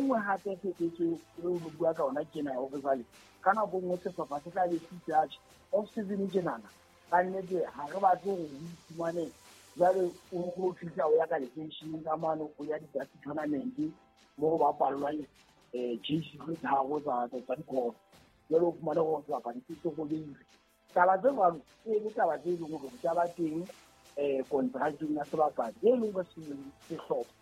nngwe hape phephetso eo re bua ka ona ke na hore jwale ka nako nngwe sehlopha se tla be se itse atjhe off season tjenana ka nnete ha re batle hore o iphumane jwale o fihla o ya ka lekeisheneng ka mane o ya di-dust tournament mo go bapallwang JC tse tharo tsa dikolo jwale o fumane gore sebapadi se se robeile. Taba tse jwalo e le taba tse leng hore di ka ba teng contracting ya sebapadi e leng gore sehlopha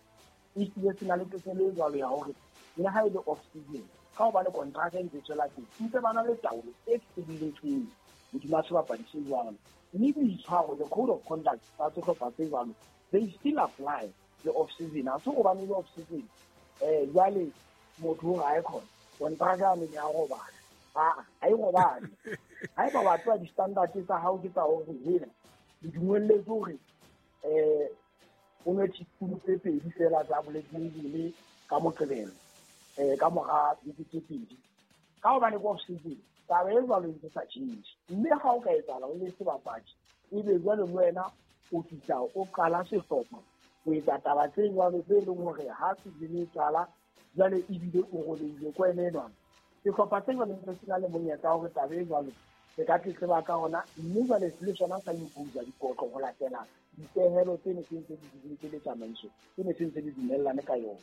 e hlile se na le tokelo e jwalo ya hore le ha e le off season ka hobane contract e ntse tswela pele ntse ba na le taolo e felletseng hodima sebapadi se jwalo. Mme boitshwaro, the code of conduct tsa sehlopha se jwalo, they still apply le off season. Ha se hobane le off season jwale motho o ga e khona contract ya ne ya robala ha e robale. Ha eba wa tswa di-standard tsa hao ke tsa hore hela di dumelletse hore o nwe teaspoon tse pedi fela tsa bolekile ka Moqebelo ka mora beke tse pedi ka hobane ke off season taba e jwalo e ntse sa change. Mme ha o ka etsahala o le sebapadi ebe jwale le wena o fihla o qala sehlopha o etsa taba tse jwalo tse leng hore ha season e qala jwale ebile o robehile ko ene enwana. Sehlopha se jwale ntse se na le monyetla wa hore taba e jwalo se ka tletleba ka ona mme jwale le sona sa impose dikotlo ho latela dipehelo tse ne se ntse di dutse le tsamaiso tse ne se ntse di dumellane ka yona.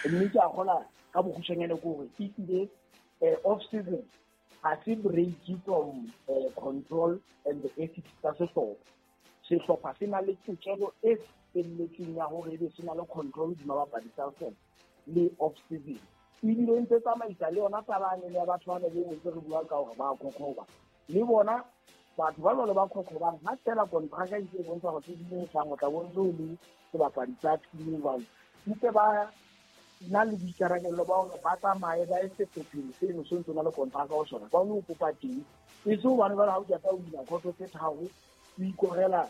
Mme ke a kgola ka bokgutshwanyane ke hore ehlile off season ha se break from control and the ethics tsa sehlopha. Sehlopha se na le tokelo e felletseng ya hore ebe se na le control hodima bapadi tsa sona le off season. Ebile ntse tsamaisa le yona taba ya batho ba ne be ntse re bua ka hore ba khokhoba le bona batho ba jwalo ba khokhobang ha fela contract e ntse e bontsha hore season e tlang o tla bo ntse o le sebapadi sa team jwalo ntse ba na le boikarabelo ba hore ba tsamaye ba ye sehlopheng seno se ntse o na le contract ho sona ba o kopa teng e se hobane jwale ha o qeta o wina khoto tse tharo o ikorela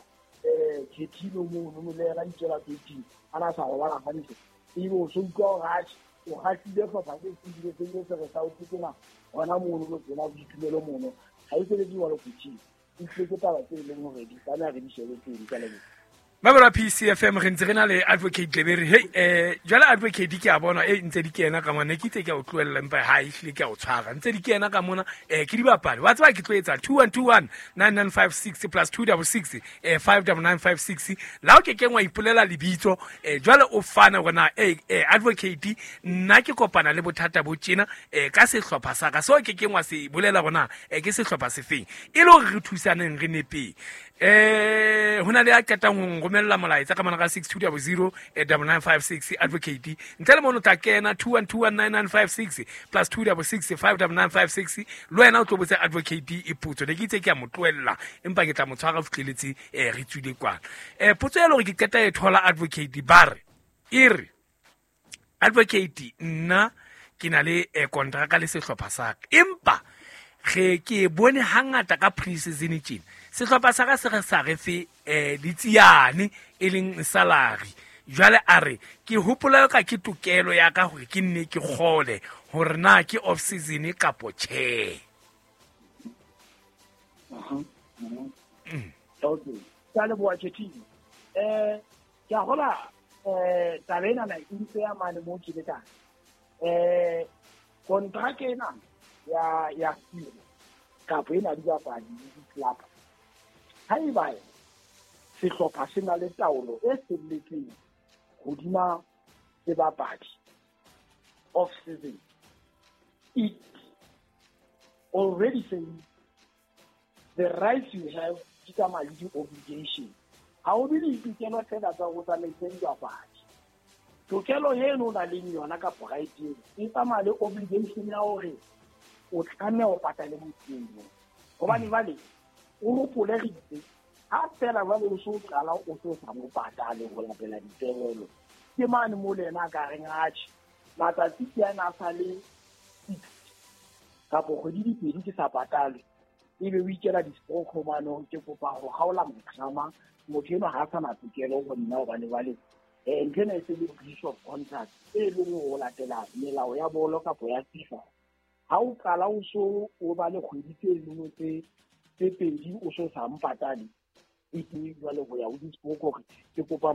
khethilo mono le yena itswela pele a na sa robala hantle ebe o so utlwa hore atjhe o kgahlile hlopha se sebile se ile se re sa o tsena hona mono lo tsena boitumelo mono ha e sebetse jwalo coaching e tlile ke taba tse leng hore di tlameha re di shebe pele ka leboha. Babara PCFM re ntse re na le Advocate Lebere. Hey jwale Advocate ke a bona e ntse di kena ka mona ke itse ke a o tlohella empa ha e hlile ke a o tshwara ntse di kena ka mona ke dibapadi wa tseba ke tlo etsa 2121 9956 plus 266 59956 la o ke kengwa ipolela lebitso jwale o fana hore na Advocate nna ke kopana le bothata bo tjena ka sehlopha sa ka so ke kengwa se bolela hore na ke sehlopha se feng e le hore re thusaneng re nepeng. Hona le a qetang ho romella molaetsa ka mona ka 6200 9956 Advocate ntle le mono tla kena 21219956 plus 266 59956 le wena o tlo botsa Advocate e potso ne ke itse ke a mo tlohella empa ke tla mo tshwara fihleletse re tswile kwana. Potso ya le hore ke qeta e thola Advocate ba re e re Advocate nna ke na le contract le sehlopha sa ka empa re ke bone hangata ka pre-season tjena sehlopha sa ka se re sa re fe ditsiane e leng salary jwale a re ke hopola ka ke tokelo ya ka hore ke nne ke kgole hore na ke off season kapo tjhe. Okay ka leboha Tshethile. Ke a hola taba ena na e ntse ya mane mo ke le ka contract ena ya tiro kapo ena dibapadi le di-club haeba sehlopha se na le taolo e felletseng hodima sebapadi off season it already says the rights you have di tsamaya le di-obligation. Ha o be le ditokelo fela tsa ho tsamaisa dibapadi tokelo eno o nang le yona kapo right eno e tsamaya le obligation ya hore o tlameha ho patale motho eno hobane jwale o hopole re itse ha fela jwale o so qala o so sa mo patale ho latela dipehelo ke mane mo le yena a ka reng atjhe matsatsi ke ana a sa le 6 kapo kgwedi di pedi ke sa patale ebe o ikela di-stroke mane ke kopa ho kgaola motlama motho enwa ha a sa na tokelo ho nna hobane jwale ntho ena e se le breach of contract e leng ho latela melao ya bolo kapo ya FIFA. Ha o qala o so o ba le kgwedi tse leng tse pedi o so sa mpatale e ke jwale ho ya ho di-stroke hore ke kopa